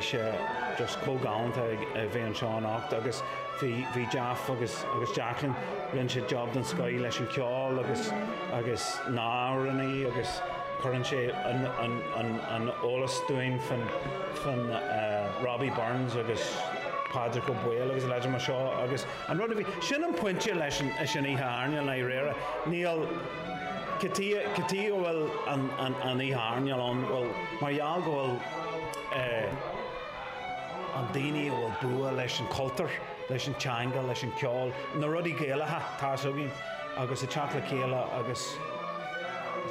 Bhí sé just chomh galánta ag a bheith anseo anocht agus bhí bhí Jeff agus agus Jacqueline, rinne siad job den scoith leis an ceol agus agus na amhránaí agus cuireann sé an an an an eolas dúinn fan fan Robbie Burns agus Pádraig Ó Baoill agus a leithéid mar seo agus an rud a bhí, sin an pointe leis an leis an oíche airneáil i ndáiríre, níl cad chuige cad chuige a bhfuil an an an oíche airneáil ann, bhuel mar gheall go bhfuil eh an daoine a bhfuil bua leis an cultúr, leis an teanga, leis an ceol, na rudaí Gaelacha, tá's againn, agus ag teacht le chéile agus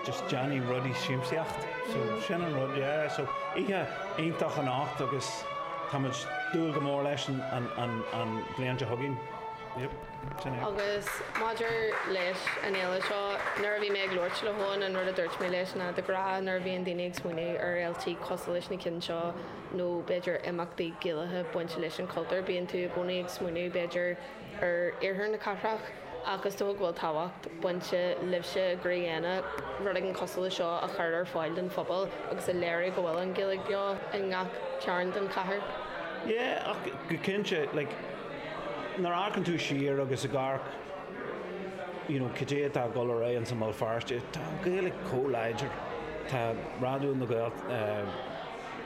just déanamh rudaí siamsaíocht. So sin an rud, yeah. So oíche iontach anocht agus táimid dúil go mór leis an an an an bhliain seo chugainn. Yep, sin é. Agus maidir leis an fhéile seo, nuair a bhí mé ag labhairt le hEoin, an rud a dúirt mé leis ná de ghnáth nuair a bhíonn daoine ag smaoineamh ar fhéiltí cosúil leis na cinn seo nó b'fhéidir imeachtaí Gaelacha bainte leis an chultúr, bíonn tú i gcónaí ag smaoineamh b'fhéidir ar iarthar na cathrach ach is dócha go bhfuil tábhacht bainte libhse i gCroí Éanna rud éigin cosúil le seo a chur ar fáil don phobal agus a léiriú go bhfuil an Ghaeilge beo i ngach cearn den chathair. Yeah, ach go cinnte, like, nuair a amharcann tú siar agus ag amharc, you know, cad é atá ag dul ar aghaidh insa mBéal Feirste, tá an Ghaeilge chomh láidir. Tá Raidió na Gael, eh,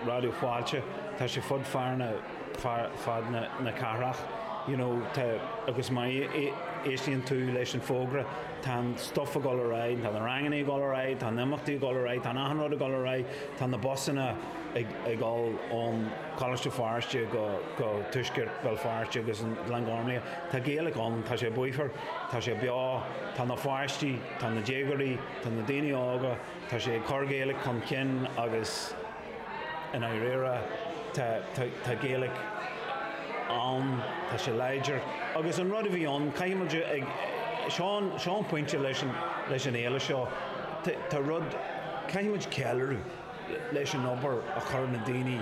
Raidió Fáilte, tá sé fud fad na, fad na cathrach, you know, tá, agus má éistíonn tú leis an fógra, tá an stuff ag dul ar aghaidh, tá na ranganna ag dul ar aghaidh, tá na imeachtaí ag dul ar aghaidh, tá achan rud ag dul ar aghaidh, tá na busanna ag ag dul ón Choláiste Feirste go go Tuaisceart Bhéal Feirste agus an Glengormley. Tá Gaeilge ann, tá sé bríomhar, tá sé beo, tá na pháistí, tá na déagóirí, tá na daoine óga, Tá sé ag cur Gaeilge chun cinn agus i ndáiríre tá tá Gaeilge ann, tá sé láidir. Agus an rud a bhí ann, caithfidh muid ag, seo an, seo an pointe leis an, leis an fhéile seo, tá rud, caithfidh muid ceiliúradh leis an obair a chuir na daoine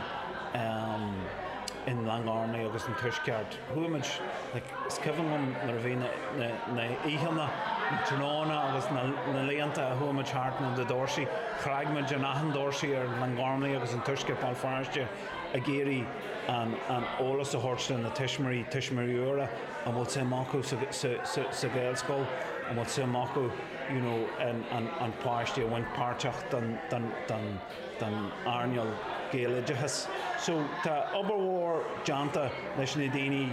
in Glengormley agus an Tuaisceart. Chuaigh muid, like, is cuimhin liom nuair a bhí na, na, na oícheanna, na tráthnóna agus na, na laethanta a chuaigh muid thart na doirsí, chreag muid in achan doirse ar Glengormley agus an Tuaisceart Béal Feirste ag iarraidh an, an eolas a thabhairt do na tuismitheoirí, tuismitheoirí úra, an bhfuil suim acu sa, sa, sa, sa Ghaelscoil, an bhfuil suim acu, you know, an, an, an páiste a bhaint páirteach den, den, den, den earnáil Gaeloideachas. So tá obair mhór déanta leis na daoine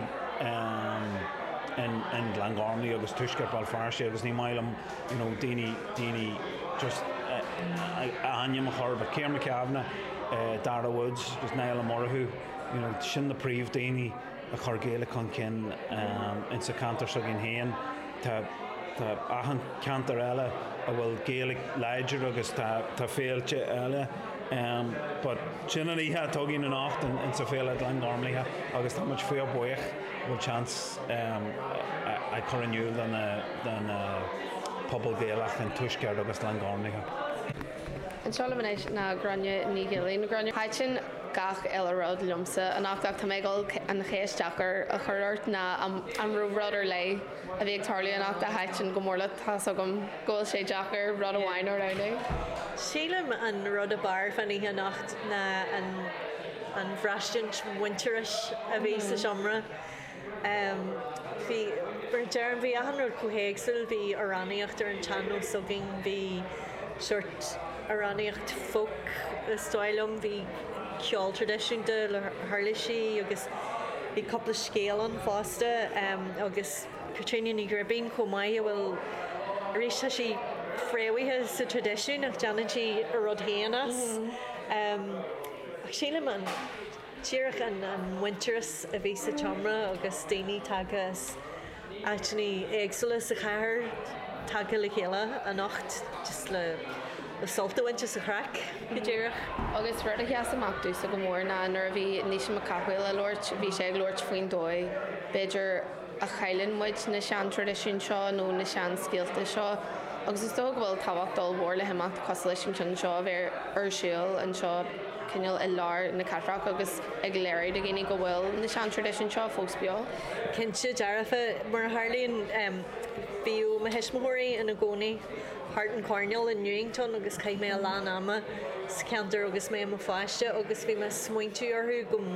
in in Glengormley agus Tuaisceart Bhéal Feirste agus ní maith liom you know daoine daoine just a ainm a chur but Ciarán McCavanagh, Dara Woods agus Niall Ó Murchú you know sin na príomh daoine a chuir Gaeilge chun cinn insa cheantar s'againn féin. Tá tá achan ceantar eile a bhfuil Gaeilge láidir agus tá tá féilte eile but sin an oíche atá againn anocht insa féile Glengormley agus tá muid fíor buíoch go bhfuil seans a chur in iúl do na do na pobal Gaelach in Tuaisceart agus Glengormley. Anseo liom anois ná Gráinne Ní Ghilín. Gráinne, thaitin gach uile rud liomsa anocht ach tá mé ag dul an cheist deacair a chur ort ná an raibh rud ar leith a bhí ag tarlú anocht a thaitin go mór leat? Tá's agam go bhfuil sé deacair rud amháin a roghnú. Sílim an rud ab fhearr fán oíche anocht ná an an bhraistint muintearais a bhí sa seomra. Bhí, mar a deirim, bhí achan rud chomh héagsúil, bhí amhránaíocht ar an tsean-nós againn, bhí sórt amhránaíocht folk is dóigh liom, bhí ceol traidisiúnta le huirlisí agus bhí cúpla scéal ann fosta agus Caitríona Ní Ghribín chomh maith a bhfuil, arís tá sí fréamhaithe sa traidisiún ach déanann sí a rud féin as. Ach sílim an. Díreach an muintearas a bhí sa tseomra agus daoine tagtha as áiteanna éagsúla sa chathair tagtha le chéile anocht just le sult a bhaint as an chraic, go díreach. Agus rud a sheas amach domhsa go mór ná nuair a bhí Naoise Mac Cathmhaoil ag labhairt, bhí sé ag labhairt faoin dóigh, b'fhéidir, a chailleann muid na sean-traidisiúin seo nó na sean-scéalta seo agus is dócha go bhfuil tábhacht ollmhór le himeacht cosúil leis an cheann seo a bheith ar siúl anseo cineál i lár na cathrach agus ag léiriú do dhaoine go bhfuil na sean-traidisiúin seo fós beo. Cinnte dearfa, mar a tharlaíonn, bhíodh mo thuismitheoirí ina gcónaí thart an choirnéal in Newington agus chaith mé a lán ama sa cheantar agus mé i mo pháiste agus bhí mé ag smaointiú orthu go.